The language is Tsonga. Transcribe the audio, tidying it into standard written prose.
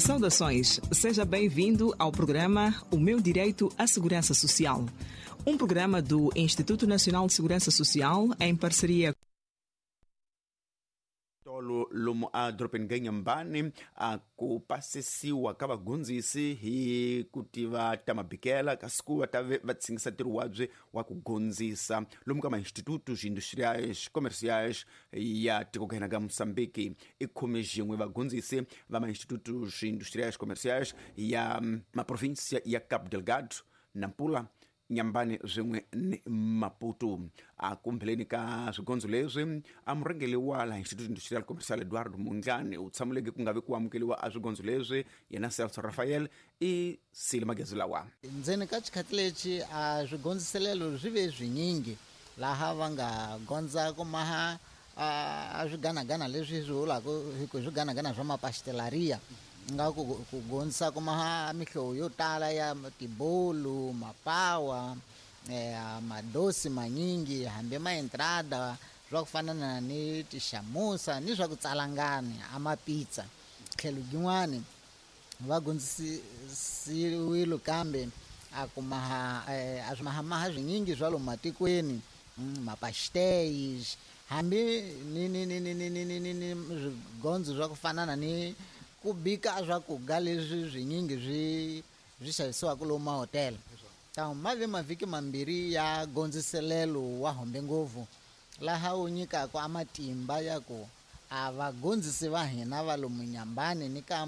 Saudações, seja bem-vindo ao programa O Meu Direito à Segurança Social, um programa do Instituto Nacional de Segurança Social em parceria Tolo lomu a dorobeni ka Inhambane a ku pasisiwa ka vagondzisi hi ku tiva ta mabikela kasi ku va ta ve va tshingisa ntirho wabye wa ku gondzisa lomu ka ma-institutos industriais comerciais ya tiko ka hina ka Mozambique. I khume xin'we vagondzisi va ma-institutos industriais comerciais ya maprovinsia ya Cabo Delgado, Nampula, Inhambane swin'we ni Maputo. A kumbheleni ka swigondzo leswi, a murhangeri wa laha Instituto Industrial Comercial Eduardo Mondlane u tshamuleke ku nga vi ku amukeriwa a swigondzo leswi. Yena Celso Rafael i sile magezi lawa. Ndzeni ka xikhathi lexi a swigondziselelo swi ve swinyingi laha va nga gondza ku maha a swiganagana leswi swi vulaka hi ku swiganagana swa mapastelariya, nga ku gondzisa ku maha mihlovo yo tala ya tibolu, mapawa, madosi manyingi, hambi maentrada swa ku fana na ni tixamusa ni swa ku tsalangani a mapizza. Tlhelo yin'wani va gondzisiwile kambe a ku maha a swi mahamaha swinyingi swa lomu matikweni, mapastéis, hambi ni ni ni ni ni ni ni ni ni swigondzo swa ku fana na ni ku bika swakudya leswi swinyingi swi xavisiwaka lomu mahotela. Ta ma ve mavhiki mambirhi ya gondziselelo wa hombe ngopfu laha wu nyikaka a matimba ya ku a vagondzisi va hina va lomu Inhambane ni ka